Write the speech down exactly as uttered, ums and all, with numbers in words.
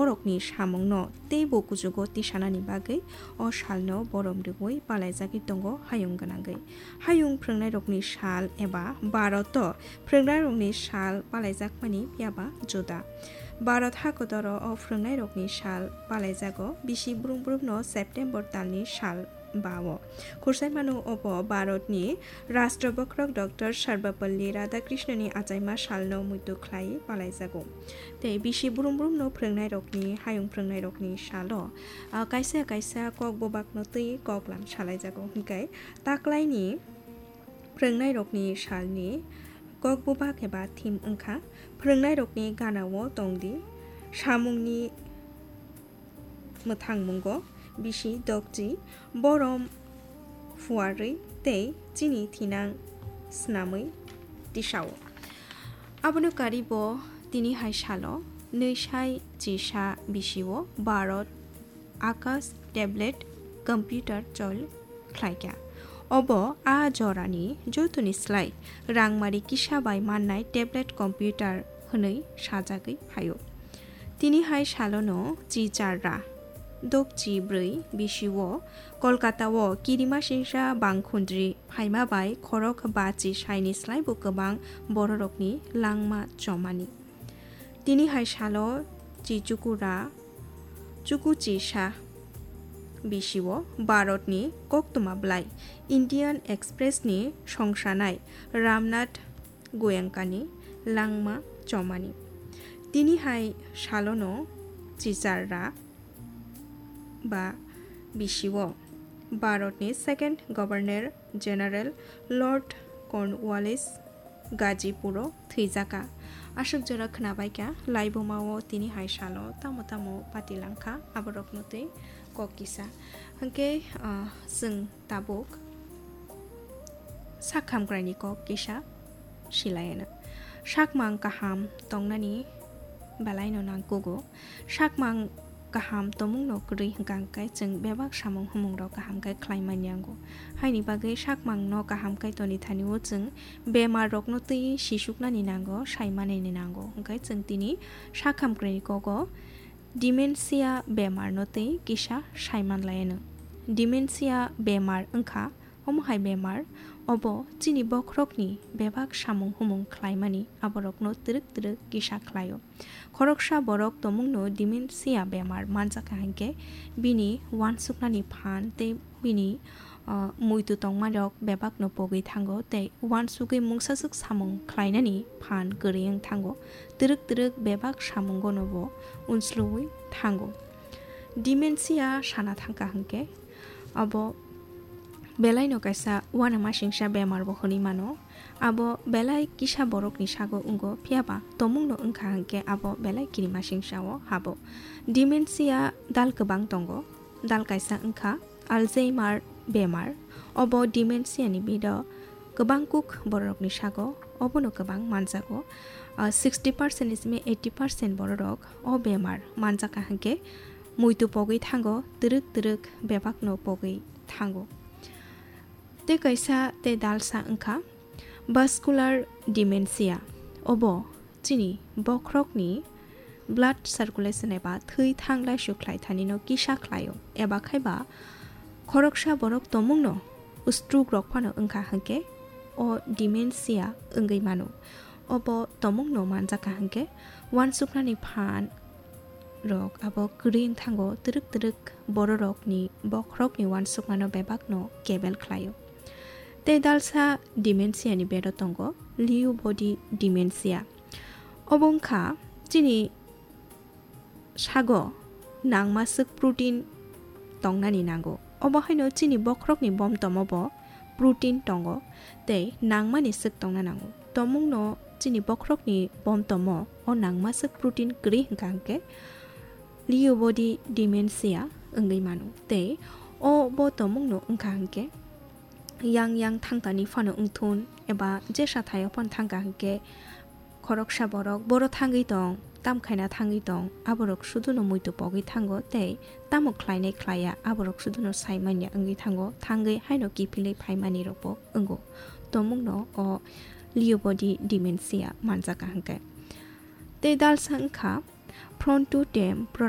borokni samungno teibo kuchugo tisanani bagwi o salno borom rwui palaijagwi tongo hayung gwnangwi. Hayung phrwngnairokni sal eba Bharoto phrwngnairokni sal palaijakmani phiyaba juda. Bharat hakodoro o phrwngnairokni sal palaijago bisi brum brumno September talni sal bao. Khursaimano obo Bharatni Rashtra Bokhorok Doctor Sarvepalli Radhakrishnani achaima salno muitu khlai palaijago. Tei bisi brum brumno phrwngnairokni, hayung phrwngnairokni salo, ah, kaisa kaisa kok bubakno twi koklam salaijago. Hinkhe taklaini phrwngnairokni salni kok bubak eba theme wngkha phrwngnairokni ganao tongdi, samungni mwthangmungo bisi dokchi, borom phuarwi tei chini thinang snamwi tisao. Abono karibo tini hai salo nwi sai chisa bisio Bharat Akash tablet computer chol khlaikha. Obo a jorani jotoni slai rangmari kisa bai mannai tablet computer hwnwi sajagwi phaio. Tini hai salono chi char ra dokchi bwrwi bisio Kolkata o kirimasingsa bangkhundri phaima bai khorok bachi saini slaibo kwbang bororokni langma chomani. Tini hai salo chi chukura chuku chisa bisio Bharatni koktwma bwlai Indian Express ni songsanai Ramnath Goenka ni langma chomani. Tini hai salono chichar ra ba bisio Bharatni second Governor General Lord Cornwallis Gazipuro thwijaka. Aswk jora khwnabaikha, laibumao tini hai salo tamo tamo patilangkha, aborokno twi kok kisa. Hinkhe, ah, chwng tabuk sak hamkraini kok kisa silayano. Sakmang kaham tongnani belaino nangkugo. Sakmang kaham tongmungno kwrwi hwnkha hwnkhe chwng bebak samung humungrok kaham khe khlai man yango. Haini bagwi sakmangno kaham khe toni thani o chwng bemarrokno twi sisuknani nango, saimanini nango. Hwnkhe chwng tini sak hamkraini kogo dementia bemarno twi kisa saiman laiano. Dementia bemar wngkha omo hai bemar, obo chini bokhorokni bebak samung humung khlaimani aborokno twrwk twrwk kisa khlaio. Khoroksa borok tongmungno dementia bemar manjakha hinkhe bini uansuknani phan tei bini, ah, muitu tongmarok bebakno pogwi thango tei uansugwi mungsaswk samung khlainani phan kwrwi wng thango. Twrwk twrwk bebak samungono bo unsluwi thango. Dementia sana thangkha hinkhe abo belaino kaisa uanamasingcha bemar bo hwnwi mano. Abo belai kisa borokni sago wngo, phiyaba tongmungno wngkha hinkhe abo belai kirimasingcha o habo. Dementia dal kwbang tongo. Dal kaisa wngkha Alzheimer bemar. Obo dementia ni bido kwbang kuk bororokni sago, obono kwbang manjago. Ah, sixty percent ni simi eighty percent bororok o bemar manjakha hinkhe muitu pogwi thango, twrwk twrwk bebakno pogwi thango. Tei kaisa tei dalsa wngkha vascular dementia. Obo chini bokhorokni blood circulation eba thwi thanglai sukhlai thanino kisa khlaio, eba khaiba khoroksa borok tongmungno stroke rok phano wngkha hinkhe o dementia wngwi mano. Obo tongmungno manjakha hinkhe uansuknani phan rok abo kwrwi wng thango, twrwk twrwk bororokni bokhorokni uansukmano bebakno kebel khlaio. Tei dalsa dementia ni bedo tongo Lewy body dementia. Obo wngkha chini sago nangmaswk protein tongnani nango. Obo haino chini bokhorokni bomtomo bo protein tongo tei nangmani swk tongna nango. Tongmungno chini bokhorokni bomtomo o nangmaswk protein kwrwi hwnkha hwnkhe Lewy body dementia wngwi mano. Tei o bo tongmungno wngkha hwnkhe yang yang thangtani phano wngthun eba jesa thaio phano thangkha hwnkhe khoroksa borok boro thangwi tong, tam khaina thangwi tong, aborok suduno muitu pogwi thango tei tamo khlainai khlaiya aborok suduno saimanya wngwi thango, thangwi haino kiphilwi phaimani rokbo wngo. Tongmungno o Lewy body dementia manjakha hwnkhe. Tei dalsa wngkha frontotemporal